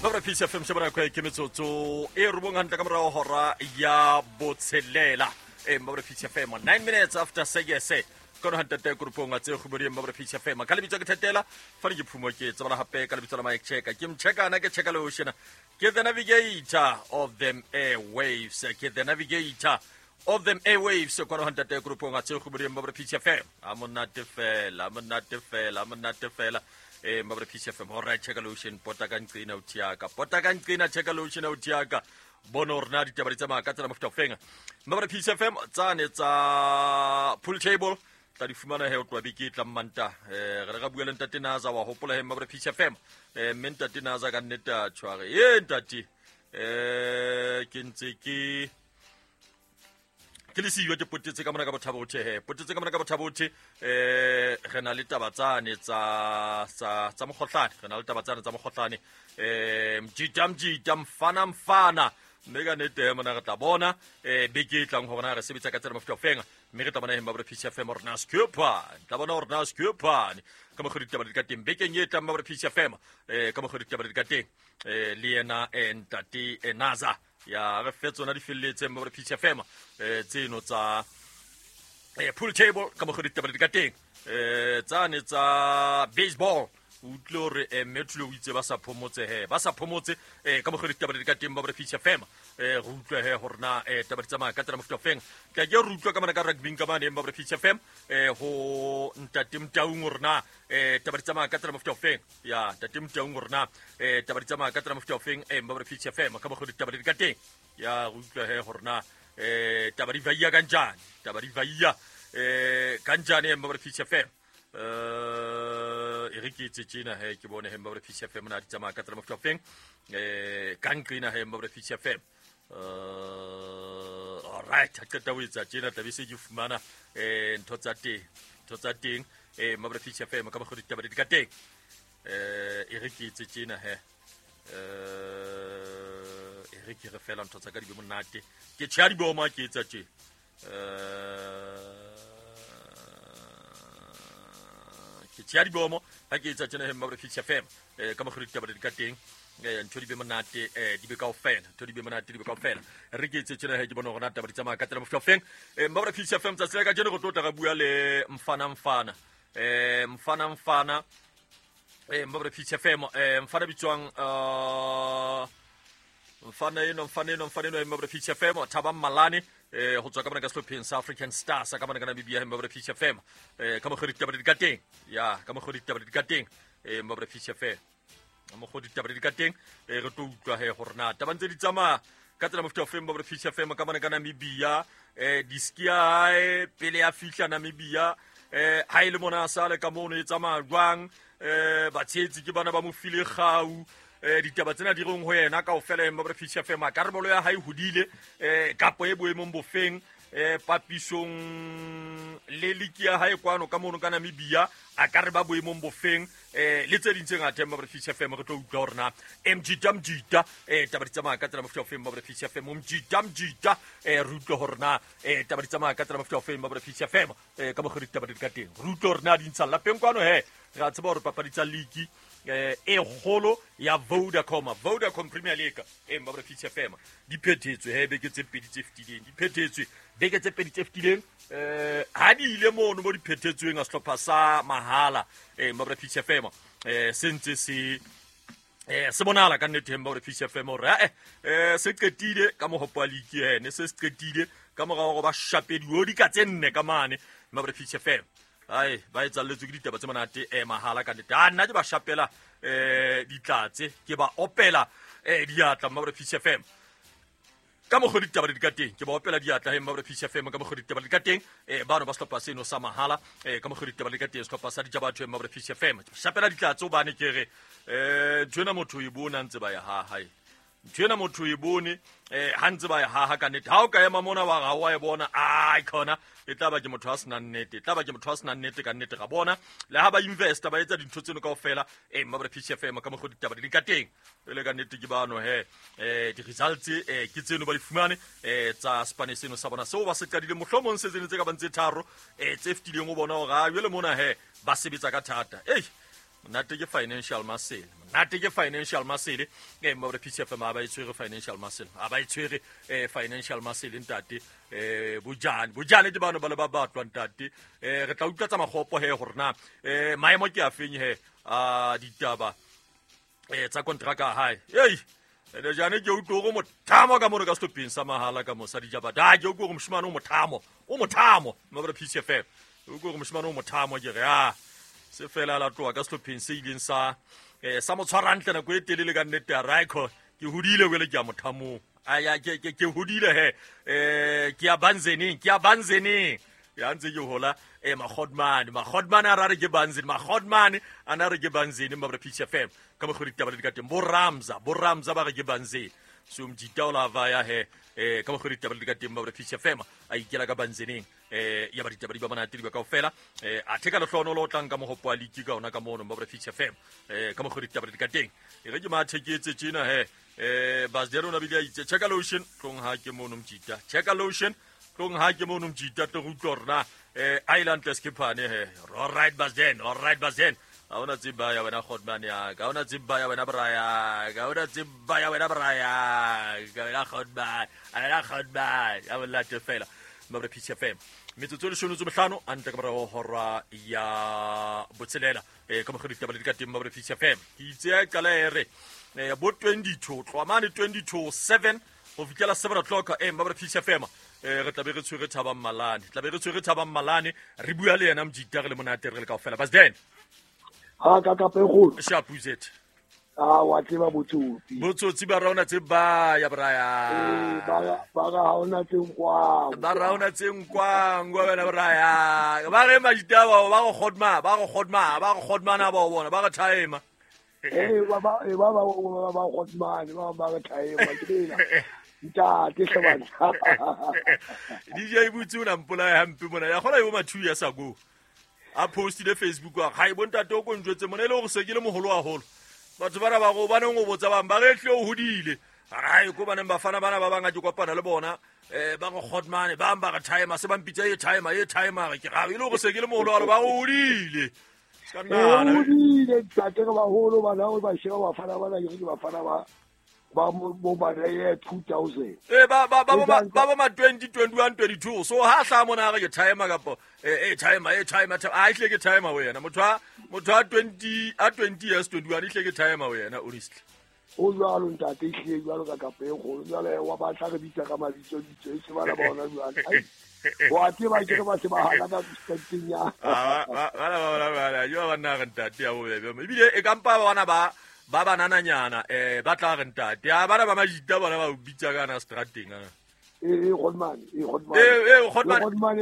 Babra Peace FM shebana kwa ke metsotso e robong hantle ka morago hora ya botshelela. E Babra Peace FM 9 minutes after 6 kono hantate grupong a tse go bodie Babra Peace FM ka lebitso ke thetela fa ke phumo ke tsebala hape ka lebitso la Mike Cheka ke mchekana ke cheka le oshena ke the navigator of them airwaves ke the navigator of them airwaves kwano hantate grupong a tse go bodie Babra Peace FM a monate fela a monate fela a monate fela eh Babra Peace FM all right cheka lotion pota ka nqina o thiaka pota ka nqina cheka lotion o thiaka bona hore na ditaba di tsamaya ka tsela mofuta ofeng Babra Peace FM tsane tsa pool table tla di fumana he o tloha beke e tlang manta eh re re ra bua le ntate Naza wa hopola he Babra Peace FM eh mme ntate Naza ka nnete a tshware e ntate eh ke ntse ke ke le siyo ke potetse ka mona ka bothabo he potetse ka mona ka bothabo eh re na le taba tsane tsa tsa tsa mogotlane re na le taba tsane tsa mogotlane eh mjita mjita mfana mfana mme ka nete he mona re tla bona eh beke e tlang gore na re sebetsa ka tsela mofuta ofeng mme re tla bona heng ba Peace FM gore na skepane tla bona gore na skepane ka mokgwa ditaba di ka teng bekeng e tlang ba Peace FM eh ka mokgwa ditaba di ka teng eh le yena eh ntate eh, Naza ya re fe tsona di felletseng ba Peace FM eh tseno tsa eh pool table ka mokgwa ditaba di ka teng eh tsane tsa baseball o utlwile gore eh, mme thule o itse ba sa phomotse he ba sa phomotse eh ka mokgwa ditaba di ka teng ba Peace FM eh re utlwe he gore na eh taba di tsamaya ka tsela mofuta ofeng tla ke re utlwa ka mana ka rugby ka mane ba Peace FM eh ho ntate Mtaung gore na eh taba di tsamaya ka tsela mofuta ofeng ya ntate Mtaung gore na eh taba di tsamaya ka tsela mofuta ofeng eh ba Peace FM ka mokgwa ditaba di ka teng ya re utlwa he gore na eh taba di vaia kanjani taba di vaia eh kanjani eh ba Peace FM eh e re ke etse tjena he ke bone he ba Peace FM na di tsamaya ka tsela mofuta ofeng eh ka nqina he ba Peace FM all right ha qeta ho etsa tjena tlabe se ke fumana eh ntho tsa teng ntho tsa teng eh ba Peace FM ka mokgwa ditaba di ka teng eh e re ke etse tjena he eh e re ke re fela ntho tsa ka di be monate ke tjha di boma ke etsa tje eh ke tjha di bomo ha ke etsa tjena he mma Peace FM eh ka mokgwa ditaba di ka teng eh ntho di be monate eh di be kaofela ntho di be monate di be kaofela re ke etse tjena he ke bona hore na taba di tsamaya ka tsela mofuta ofeng eh mma Peace FM tsatsi la kajeno re tlo tla re bua le mfana mfana eh mfana mfana eh mma Peace FM eh mfana bitswang eh mfana eno mfana eno mfana eno mma Peace FM Thabang Malane eh ho tswa ka mona ka sehlopheng sa African Stars ka mona ka Namibia mma Peace FM eh ka mokgwa ditaba di ka teng ya ka mokgwa ditaba di ka teng eh mma Peace FM ka mokgwa ditaba di ka teng eh re tlo utlwa he gore na taba ntse di tsamaya ka tsela mofuta ofeng ba Peace FM ka mona ka Namibia eh diski ya hae pele ya fihla Namibia eh ha ile mona a sale ka mono e tsamaya jwang eh batshehetsi ke bana ba mo file kgau eh ditaba tsena di reng ho yena kaofela ba Peace FM karolo ya hae hodile eh kapo e boemong bofeng eh papisong le liki ya hae kwano ka mono ka Namibia a ka re ba boemong bofeng eh le tse ding tse ngata ba Peace FM re tlo utlwa hore na mjita mjita eh taba di tsamaya ka tsela mofuta ofeng ba Peace FM mjita mjita eh re utlwe hore na eh taba di tsamaya ka tsela mofuta ofeng ba Peace FM eh ka mokgwa ditaba di ka teng re utlwe hore na di ntsha lapeng kwano he re a tseba hore papadi tsa league eh e kgolo ya Vodacom Vodacom Premier League e mma Peace FM di phethetswe he beke tse pedi tse fetileng di phethetswe beke tse pedi tse fetileng eh ha di ile mono mo di phethetsweng a sehlopha sa mahala eh mma Peace FM eh se ntse se eh se bonala ka nnete mma Peace FM hore eh eh se qetile ka mohopo wa league ene se se qetile ka morao go ba shapediwa di ka tse nne ka mane mma Peace FM ai ba etsalletswe ke ditaba tse monate eh mahala ka nnete a nna ke ba shapela eh ditlatse ke ba opela eh diatla mma Peace FM ka mokgwa ditaba di ka teng ke ba opela diatla he mma Peace FM ka mokgwa ditaba di ka teng eh bano ba sehlopha seno sa mahala eh ka mokgwa ditaba di ka teng sehlopha sa ditjaba batho mma Peace FM shapela ditlatse hobane ke re eh ntho ena motho e bona ntse ba ya ha hae ntho ena motho e bone eh ha ntse ba e haha ka nnete ha o ka ema mona wa ga wa e bona ai khona e tla ba ke motho a senang nnete e tla ba ke motho a senang nnete ka nnete ga bona le ha ba investa ba etsa dintho tseno kaofela eh mma Peace FM ka mokgwa ditaba di ka teng e le ka nnete ke bano he eh di-results eh ke tseno ba di fumane eh tsa spane seno sa bona seo ba se qadile mohlomong se tsene tse ka bang tse tharo eh tse fetileng o bona hore a jwale mona he ba sebetsa ka thata ei. Monate ke financial muscle, monate ke financial muscle. Mma Peace FM a ba e tshwere financial muscle, a ba e tshwere financial muscle ntate. Bojane, bojane ke bano ba le ba batlwa ntate. Re tla utlwa tsa magopo he gore na maemo ke a feng he a ditaba tsa kontraka hae. Ei, ene jane ke utlwe gore mothamo ka mono ka sehlopheng sa mahala ka mosadi jabata. Ke utlwe gore moshimane o mothamo, o mothamo mma Peace FM. O utlwe gore moshimane o mothamo ke re a se fela la tloa ka sehlopheng se ileng sa sa mo tshwara hantle nako e telele ka nnete ya Raiko. Ke hodile jwale ke ya mothamong. Aya ke hodile he. Ke ya Banzeneng, ke ya Banzeneng. Ya ntse ke hola Magodmane, Magodmane a ra re ke Banzeni, Magodmane a na re ke Banzeni mma Peace FM. Ka mokgwa ditaba le di ka teng. Bo Ramza, bo Ramza ba re ke Banzeni. So mjita o la va ya he ka mokgwa ditaba le di ka teng mma Peace FM a ikela ka Banzeneng. Ya ba ditaba di ba monate di ba kaofela. A theka lehlohonolo o tlang ka mohopo wa league ka ona ka mono mma Peace FM. Ka mokgwa ditaba le di ka teng. E re ke mathe ke etse tjena he. Basdero na bile a itse check lotion tlong ha ke mono mjita. Check lotion tlong ha ke mono mjita tlo utlwa hore na Island Skiphane he. All right Basden, all right Basden. Ha ona tseba ya wena Godman ya ka, ha ona tseba ya wena Brian, ha ona tseba ya wena Brian, ka wena Godman, a wena Godman. Ya bolate fela. Mma Peace FM. Metsotso e leshome tse bohlano a ntle ka morao hora ya botshelela. Ka mokgwa ditaba le di ka teng mma Peace FM. Ke itse ya qala e re bo 22 tloha mane 22 7 ho fihlela 7 o'clock mma Peace FM. Re tla be re tshwere Thabang Malane, tla be re tshwere Thabang Malane, re bua le yena mjita re le monate re le kaofela. Basden. Ha ka ka pegolo. Shapuzet. A wa tseba botsotsi. Botsotsi ba raona tse ba ya Brian. Ba ra haona tse nkwang. Ba raona tse nkwang wa wena Brian. Ba re majita ba ba go kgodma, ba go kgodma, ba go kgodmana ba bona, ba re time. Ba ba ba ba ba kgodmane, ba ba re time ke ena. Ntate hlobana. DJ Butsi o na mpolaya hampe mona. Ya kgona yo mathu ya sa go. A postile Facebook wa ga e bontate o konjwetse mona e le gore se ke le moholo haholo. Batho bana ba go baneng o botsa bang ba re tle o hodile. Ai ko baneng bafana bana ba banga ke kopana le bona ba go Godmane ba ba re timer se ba mpitsa e timer e timer ke ga e le gore se ke le moholo haholo ba go hodile. Ska nna. Hodile ntate re baholo bana o ba sheba bafana bana ke bafana ba ba mo ba re 2000. Ba ba ba ba ba 20 21 22 so ha hla mona re ke timer kapo timer e timer a ihle ke timer wena motho a 20 a 20 years 21 ihle ke timer wena honestly. O jwalo ntate ihle jwalo ka kapo e kgolo jwale wa batla re bitsa ka mabitso ditso e se bana ba ona jwale. Wa tseba ke re ba se ba hana ka strateng ya. Ba ba ba yo ba nna re ntate ya bobebe ebile e kampa ba bana ba ba banananyana ba tla re ntate a bana ba majita bona ba bitsa ka na strateng ana. Godman, Godman. Godman.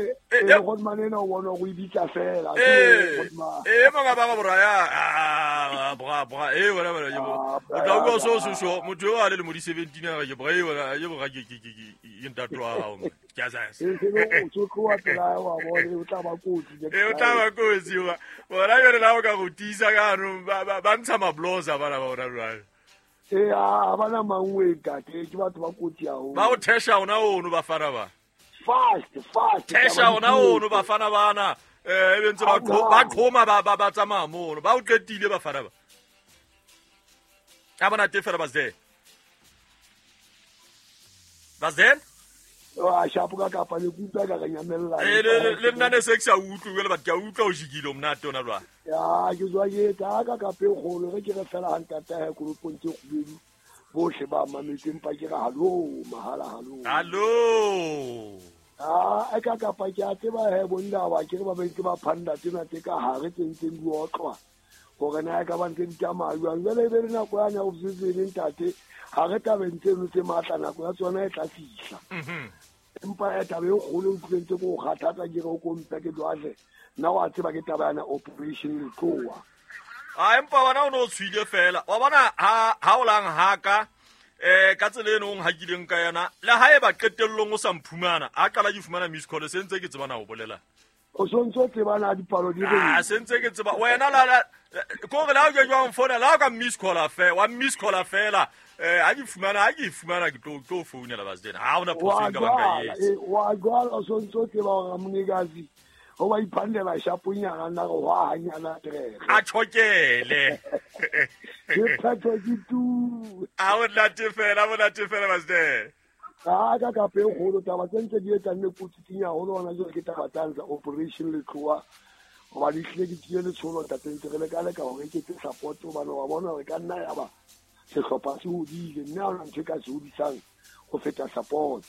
Godman ena o bona go ibitsa fela. Godman. Monga ba ba ya bra bra wena wena ke bo. O tla utlwa so so so motho yo a le mo di 17 a ke bra wena ke bra ke ke ke ke ntate wa hao. Ke a sa. O tlo pela wa bona o tla ba kotsi. O tla ba kotsi wa. Bona yone la o ka go tisa ka no ba ntsha mabloza bana ba bona jwale. A bana mangwe ntate ke batho ba kotsi haholo. Ba o thesha ona ono bafana ba. Fast fast. Thesha ona ono bafana bana. E bentse ba qhoma ba ba tsamaya mono. Ba o qetile bafana ba. A bona te fela bazde. Bazde? Wa shapo ka kapa le kutlwa ka nyamella. Le nna ne se ke sa utlwe le batho ke a utlwa o jikile o monate ona jwale. Ya ke tswa ke tsa ka kape kgolo re ke re fela hantata ya kolopong tse kgubedu bohle ba mametse empa ke re hallo mahala hallo. Hallo. A ka kapa ke a tseba he bonna ba ke re ba bentse ba phanda tsena tse ka hare tse ntseng di otlwa hore na ka ba ntse di tsamaya jwang. Jwale e be le nako ya nya o tsetseng ntate ha re tabeng tseno tse matla nako ya tsona e tla fihla. Empa e taba e kgolo e utlwileng tse ko kgathatsa ke re o kompe ke jwale nna wa tseba ke taba yana operation Letloa. A empa wena o no tshwile fela wa bona ha o lang haka ka tsela eno o nhakileng ka yona le ha e ba qetellong o sa mphumana a qala ke fumana miss call se ntse ke tsebana ho bolela. O sontso tsebana dipalo di re. A se ntse ke tseba wena la ko re la o ke jwang fona la ka miss call fe wa miss call fela ha ke fumana ke tlo founela ba tsena ha ona phoso ka banka yes. Wa jwala o sontso tseba hore monikazi Ho ba iphandela shaponyana nna re hwa hanyana terege. A tjhokele. Ke phetho ke tu. A o nate fela, o nate fela master. Ka ka ka pe kgolo taba tse ntse di etsa nne kotsitsinya haholo hona jwale ke taba tsa Operation Letloa. Hoba di hlile di tsile letsholo ntate ntse re leka leka hore ke tse support hobane wa bona hore ka nna ya ba sehlopha se hodile mme ha hona ntho e ka se hodisang ho feta support.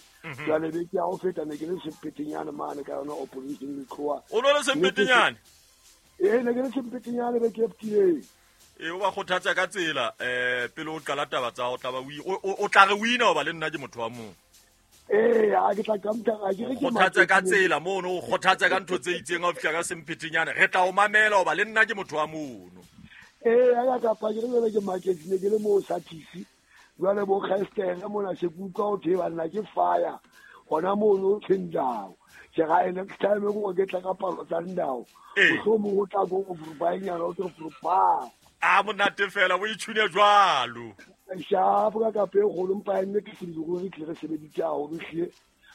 Jwale beke ya ho feta ne ke le sempetenyane mane ka yona Operation Letloa. O no le sempetenyane? Ee, ne ke le sempetenyane beke e fetileng. E o ba kgothatsa ka tsela pele o qala taba tsa o tla ba o tla re wina hoba le nna ke motho wa mong. Ee, a ke tla qamta a ke re ke kgothatsa ka tsela mono, o kgothatsa ka ntho tse itseng ha o fihla ka sempetenyane, re tla o mamela hoba le nna ke motho wa mono. Ee, a ka pa ke re jwale ke market ne ke le mo sa TC. Jwale bo Kgestere mona se ke utlwa ho thwe banna ke fire. Hona mono thendao. Ke ra next time go ke tla ka palo tsa ndao. Mohlomong o tla go go o tlo grupa. A monate fela o itshune jwalo. Shapo ka ka pe kgolo mpa nne ke se go re tle re sebeditse haholo hle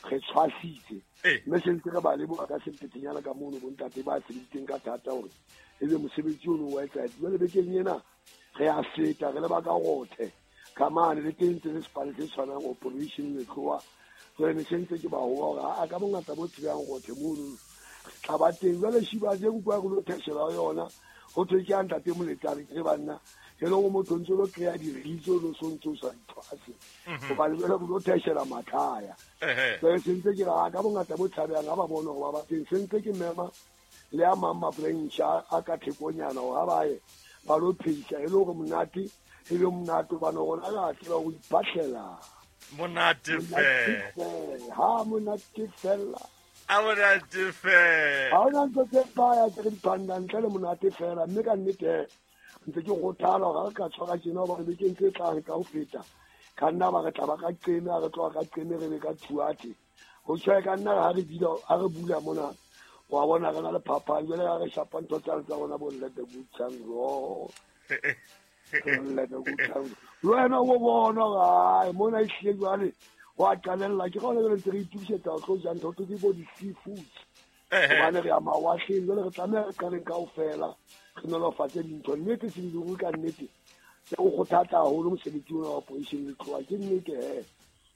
re tshwasitse. Mme se ntse re ba leboha ka sempetenyana ka mono bontate ba sebeditseng ka thata hore ebe mosebetsi ono wa etsa. Jwale bekeng ena re a feta re le ba ka rothe. Ka mane le teng tse le sepale se tshwanang Operation Letloa. Jwale ne se ntse ke ba hoa hore a ka bongata bo tsebang rothe mono. Re tla ba teng. Jwale Shiba je utlwa re lo theshela yona. Ho thwe ke a ntate Moletsane ke re banna. E le hore motho ntse lo kry-a diritso lo so ntse o sa ithwase. Hobane jwale re lo theshela mathaya. Jwale se ntse ke re a ka bongata bo tshabehang ha ba bone hore ba ba teng. Se ntse ke mema le a mang ma-branch a ka thekonyana hore ha ba ye ba lo phehisa e le hore monate e be monate hobane rona re a tseba ho ipatlela. Monate fela. Ha monate fela. A monate fela. Ha hona ntho tse baya tse re di phanda ntle le monate fela mme ka nnete ntse ke kgothala hore ha re ka tshwara tjena hobane bekeng tse tlang ka ho feta ka nna ba re tla ba ka qeme, ha re tloha ka qeme re be ka thuathe. Ho tjho ka nna ha re bula, ha re bula mona wa bona re na le phapang jwale ha re shapa ntho tsa rona bo let the good time roll. Let the good time. Le wena o bona hore mona e hlile jwale wa qalella ke gona jwale ntse re itukisetsa ho tlo ja ntho tse bo di-seafoods. Hobane re ya mawatleng jwale re tlameha re qaleng kaofela re nolofatse dintho. Nnete se di ka nnete o kgothatsa haholo mosebetsi ona wa Operation Letloa. Ke nnete he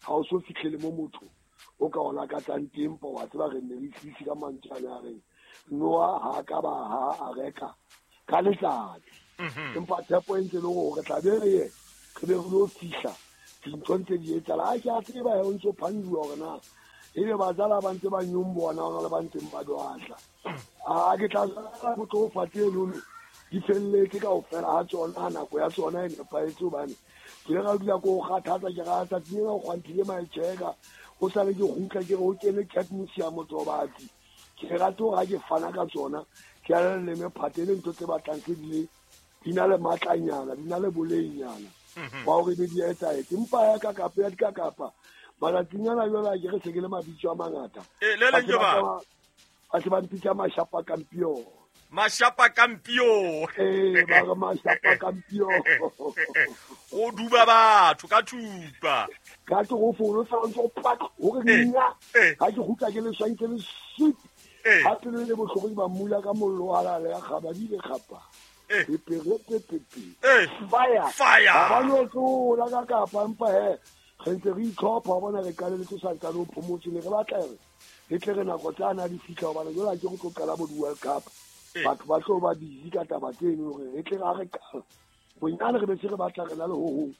ha o so fihlele mo motho o ka o lakatsang teng pa wa tseba re ne re isise ka mantswe a a reng Noa ha ka ba ha a reka ka letsatsi. Empa tshepo e ntse le hore re tla be re ye re be re lo fihla dintho ntse di etsahala. Ha ke a tseba he o ntso phanduwa hore na ebe bazala ba ntse ba nyombona hona le ba ntseng ba dwatla. A ke tla jala go tlo fa tse lone di felletse kaofela ha tsona ha nako ya tsona e nepahetse hobane ke ile ka dula ko kgathatsa ke ra tsatsing lena o kgwanthile maetjheka o sale ke kgutla ke re o kene Cat Museum Tobatsi. Ke rate hore ha ke fana ka tsona ke a le mephate le ntho tse batlang tse di le di na le matlanyana di na le bolengnyana ba hore be di etsahetse. Empa ya ka kapa ya dikakapa matsatsing ana jwale ha ke re se ke le mabitso a mangata. Le leng ke ba? Ba se ba mpitsa Mashapa Kampion. Mashapa Kampion. Ee, ba re Mashapa Kampion. O duba batho ka thupa. Ka torofolo fela ntse o pak hore nna ha ke kgutla ke le swantse le sweet. Ha pelo le bohloko ke ba mmula ka mollo wa halale ya kgaba di le kgapa. Pepe pepe pepe. Fire. Fire. Ha ba no tlola ka kapa empa he re ntse re itlhopha bona re qaleletse santsane o phomotse ne re batla re re tle re nako tsana di fihla hobane jwale ha ke go tlo qala bo di-World Cup. Batho ba tlo ba busy ka taba tseno hore re tle ra re qala bonyane re be se re batla re na le ho hong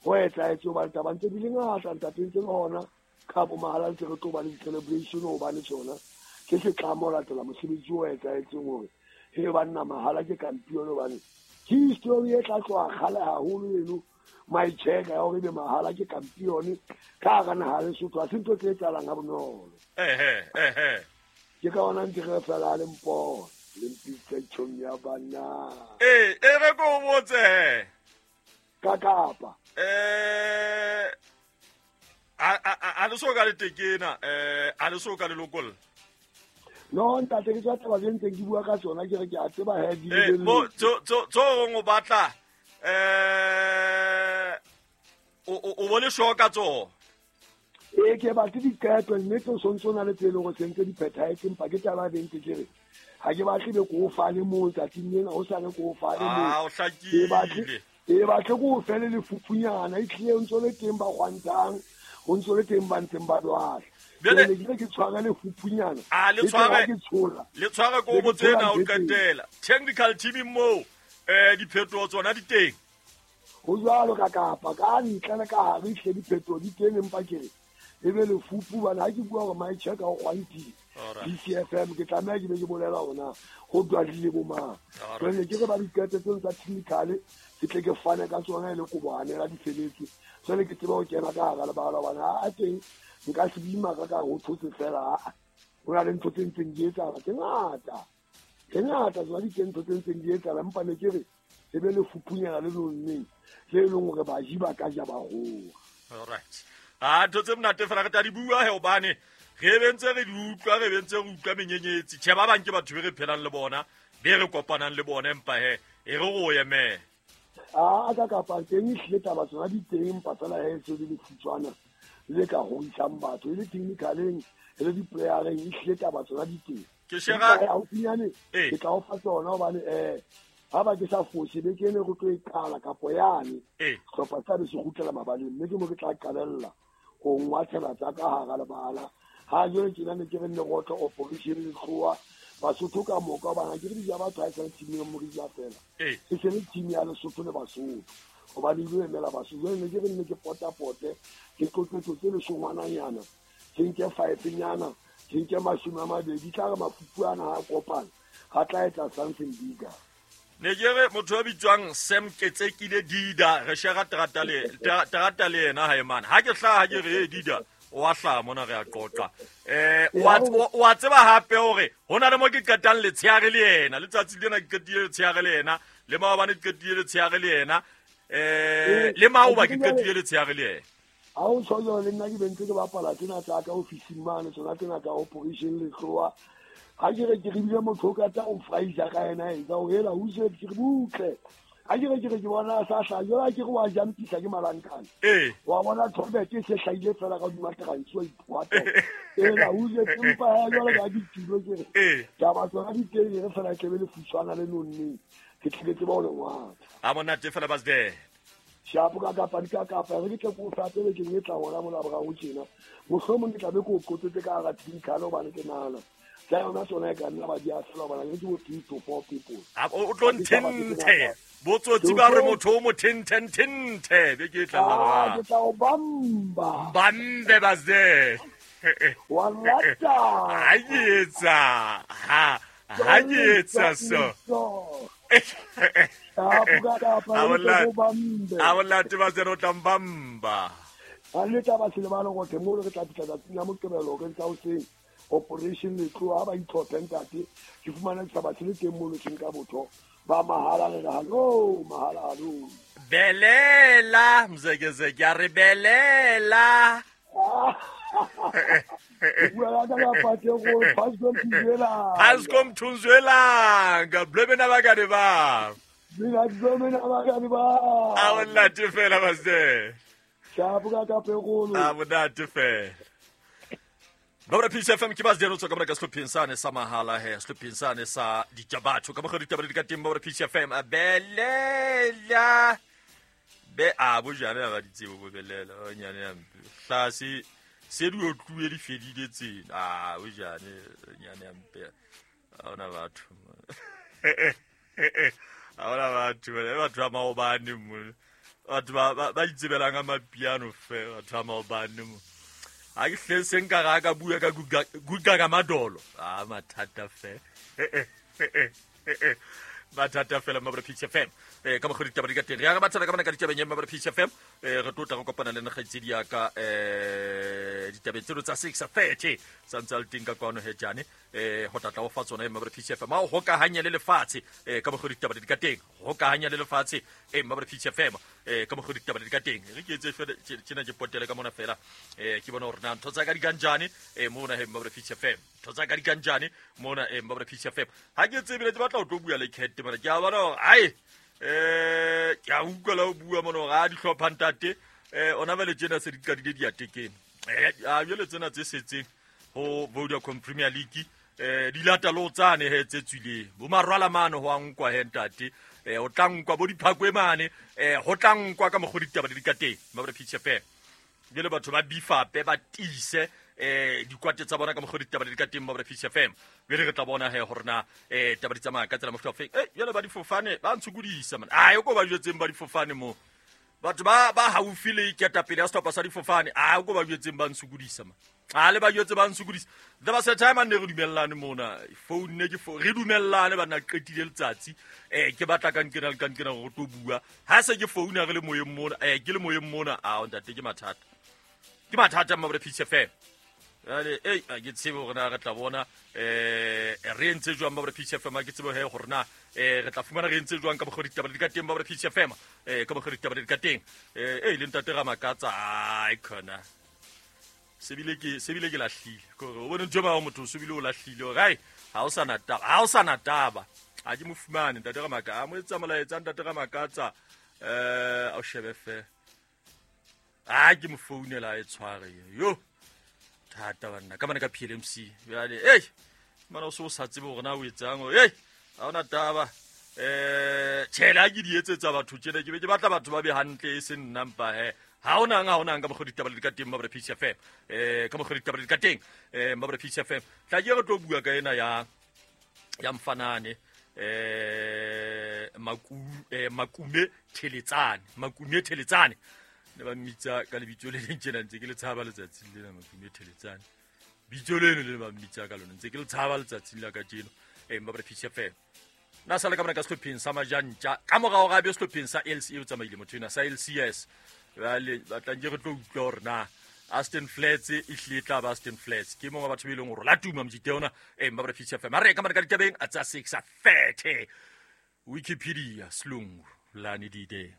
ho etsahetse hobane taba ntse di le ngata ntate ntse le hona ka bo mahala ntse re tlo ba le di-celebration hobane tsona ke setlamo ho latela mosebetsi o etsahetseng hore he banna mahala ke kampione hobane ke history e tla tloha kgale haholo eno maitjheka ya hore ebe mahala ke kampione ka hara naha ya Lesotho ha se ntho tse etsahalang ha bonolo. Ke ka hona ntse re fela le mpona le mpitsa tjhong ya banna. E re ko o botse. Ka kapa. A le so ka le tekena, a le so ka le lokolla. No ntate ke tswa taba tse ntseng ke bua ka tsona ke re ke a tseba he di le. Mo tso tso o batla o bone sho ka tso. Ee ke batle diqeto nnete o sontso na le tse leng hore sentse di phethahetse empa ke taba e ntse ke re ga ke batle be ko o fane moo tsatsing lena o sane ko o fane moo. A o hlakile. E batle ko o fele lefupunyana e tlile o ntse le teng ba gwantang o ntse le teng ba ntseng ba lwala. Bjale- Jwale ke re ke tshware lefupunyana A, le e tle ha tshware- ke tshola Le tshware ko Le bo tsena o tshwara ntho e teng. qetela. Technical team moo diphetoho tsona di teng. Ho jwalo ka kapa ka ntle le ka hare ehlile diphetoho di teng, empa ke re e be lefupu bana ha ke bua hore my check o gwantile Alright. BCFM ke tlameha ke be ke bolela hore na ho dwadile bo mang. Alright. Jwale ke re ba diqeto tseo tsa technical ke tle ke fane ka tsona e le koboanela di feletse. Jwale ke tsebe ho kena ka hara lebala hobane ha a teng nka se bima ka ka ho thotse fela ha. Ho na le ntho tse ntseng di etsahala tse ngata. Tse ngata tsona di teng ntho tse ntseng di etsahala empa ne ke re e be lefupunyana le nonneng le e leng hore baji ba ka ja ba goa. Alright. A ntho tse monate fela re tla di bua he hobane re be ntse re di utlwa re be ntse re utlwa menyenyetsi. Tjhe ba bang ke batho be re phelang le bona, be re kopanang le bona empa he e re go emele. A ka kapa teng ehlile taba tsona di teng empa fela he se le lefutshwana le ka hoisang batho e le technicaleng e le di-playereng ehlile taba tsona di teng. Ke shera Empa haufinyane Ee. ke tla o fa tsona hobane ha ba ke sa fose beke ene re tlo e qala kapo yane Ee. sehlopha sa be se kgutlela mabaleng mme ke mo ke tla qalella ho ngwathela tsa ka hara lebala. Ha jwale tjena ne ke re nne rotlo operation letloa Basotho ka moka hobane ha ke re di ja batho ha e sale team ya Morija fela. Ee. E se le team ya Lesotho le Basotho hobane e lo emela Basotho. Jwale ne ke re nne ke potapote ke tlotlotlo tse leshongwananyana ke nke 5 nyana ke nke 20 tla re mafupu ana ha a kopana ga tla etsa something bigger. Ne ke re motho ya bitswang Sam Ketsekile Dida re shera terata le terata le yena hae mane. Ha ke hlaha ke re Dida o a hlaha mona re a qoqa. O a tseba hape hore ho na le mo ke qetang letshehare le yena. Letsatsi lena ke qetile letshehare le yena, le maobane ke qetile letshehare le yena. Le maoba ke qetile letshehare le yena. Ha o tjho jwalo le nna ke bentse ke bapala tsena tsa ka ofising mane tsona tsena tsa operation letloa. Ha ke re ke re bile motho o ka tla o fraisa ka yena etsa o hela o se ke re butle. Ha ke re ke re ke bona a sa hlaha jwale ha ke re wa jampisa ke malankane. Wa bona tholbete e se hlahile fela ka hodima transi wa ikwata. Ela o se empa ha jwale ka ditulo ke re. Taba tsona di teng e re fela tlebe le futshwana le nonneng. Ke tle ke tsebe ho le ngwatha. A monate fela Basde. Shapo ka kapa di ka kapa re ke tle ko fa pele ke e tla hona mona boraro tjena. Mohlomong ke tla be ke o qotsetse ka hara technical hobane ke nahana tsa yona tsona e ka nna ba di a fela hobane ke bo 3 to 4 people. A o tlo nthenthe. Botsotsi ba re motho o mo thenthe be ke tla la Ah, ke tla o bamba. Bambe Basde. Wa lata. Ha ke etsa. Ha ke etsa so. Shapo ka kapa A re ke monate. o bambe. A monate Basde o tla mbamba. Ha le taba se lebale gore mo re tla fihla tsatsing la Moqebelo re tsa hoseng operation letloa ha ba itlhophe ntate ke fumana setjhaba se le teng mo lotseng ka botho ba mahala re re hallo mahala hallo. Belela mzekezeke a re belela. Ke bua ka ka pate go Pascal Mthunzwela. Pascal Mthunzwelanga blebe nabakane ba. Mina blebe nabakane ba. A monate fela Basde. Shapo ka ka pegolo. A monate fela. Babra Peace FM ke Basde tswa ka mona ka sehlopheng sane sa mahala he sehlopheng sane sa dijabatho ka mokgwa ditaba di ka teng Babra Peace FM a belela be a bojane ga di tsebo bo belela o nyane ya mpe hlase se di otluwe di fedile tsena a bojane nyane ya mpe ha ona batho ha ona batho batho ba maobane mo batho ba itsebelang ka mapiano fe batho ba maobane mo ha ke hle se nka ga ka bua ka guga ka madolo a mathata fe mathata fela Mabra Peace FM ka mokgwa ditaba di ka teng re ya re bathana ka mona ka ditabeng ya Mabra Peace FM re tlo tla re kopana le nagaitsedi ya ka ditabeng tseno tsa 6:30 sa ntse a le teng ka kwano he jane ho tla tla o fa tsona Mabra Peace FM a o hokahanya le lefatshe ka mokgwa ditaba di ka teng hokahanya le lefatshe Mabra Peace FM ka mokgwa ditaba di ka teng re ke etse fela tjena ke potele ka mona fela ke bona hore na ntho tsa ka di kanjane mona he Mabra Peace FM ntho tsa ka di kanjane mona Mabra Peace FM ha ke tsebile ke batla ho tlo bua le Cat mona ke a bona hore ai ke a utlwa la ho bua mona hore a dihlopha ntate ona jwale tjena se di qadile diatekeng a jwale tsena tse setseng ho Vodacom Premier League Di lata le ho tsane he tse tswileng bo marwala mane ho a nkwa he ntate, o tla nkwa bo diphakwe mane, ho tla nkwa ka mokgwa ditaba di ka teng mabra Peach FM. Jwale batho ba bifape ba tiise dikwate tsa bona ka mokgwa ditaba di ka teng mabra Peach FM. Jwale re tla bona he hore na taba di tsamaya ka tsela mofuta ofeng. Jwale ba difofane ba ntshokodisa man, a ko ba jwetseng ba difofane mo batho ba haufi le ketapele ya sehlopha sa difofane, a ko ba jwetseng ba ntshokodisa man, a le ba jwetse ba ntshokodisa. There was a time a ne re dumellane mona phone ne ke re dumellane ba nna qetile letsatsi, ke batla ka nkena le ka nkena gore tlo bua ha se ke phone re le moyeng mona, ke le moyeng mona, a ntate ke mathata, ke mathata mma Peach FM. Jwale ei a ke tsebe hore na re tla bona re entse jwang mma Peach FM, a ke tsebe he hore na re tla fumana re entse jwang ka mokgwa ditaba di ka teng mma Peach FM, ka mokgwa ditaba di ka teng. E le ntate Ramakatsa ai khona sebile ke lahlile kore o bone ntho ba motho o sebile o lahlile hore ai ha o sana taba, ha o sana taba, a ke mo fumane ntate Ramakatsa, a mo etsa molaetsa ntate Ramakatsa, a o shebe fe a ke mo founela e tshware yo thata banna ka bana ka PLMC. Jwale ei mana o se o sa tsebe hore na o etsang, ei ha ona taba, tjhele ha ke di etsetsa batho tjena ke be ke batla batho ba be hantle e se nna mpa he ha onang ka mokgwa ditaba di ka teng mabra Peach FM, ka mokgwa ditaba di ka teng mabra Peach FM. Tla ke re tlo bua ka ena ya mfanane Makume Theletsane, Makume Theletsane ne ba mmitsa ka lebitso le leng tjena ntse ke le tshaba letsatsing lena, Makume Theletsane bitso leno le ba mmitsa ka lona ntse ke le tshaba letsatsing la kajeno mabra Peach FM. Na sala ka mona ka sehlopheng sa Majantja ka morao ga be sehlopheng sa LC o tsamaile motho ena sa LCS. Jwale batlang ke re tlo utlwa hore na Aston Flats e hlile tla ba Aston Flats ke mongwe wa batho be leng hore la tuma mojite ona mabra Peach FM. A re ka mona ka ditabeng a tsa 6:30 Wikipedia slungu lani dide.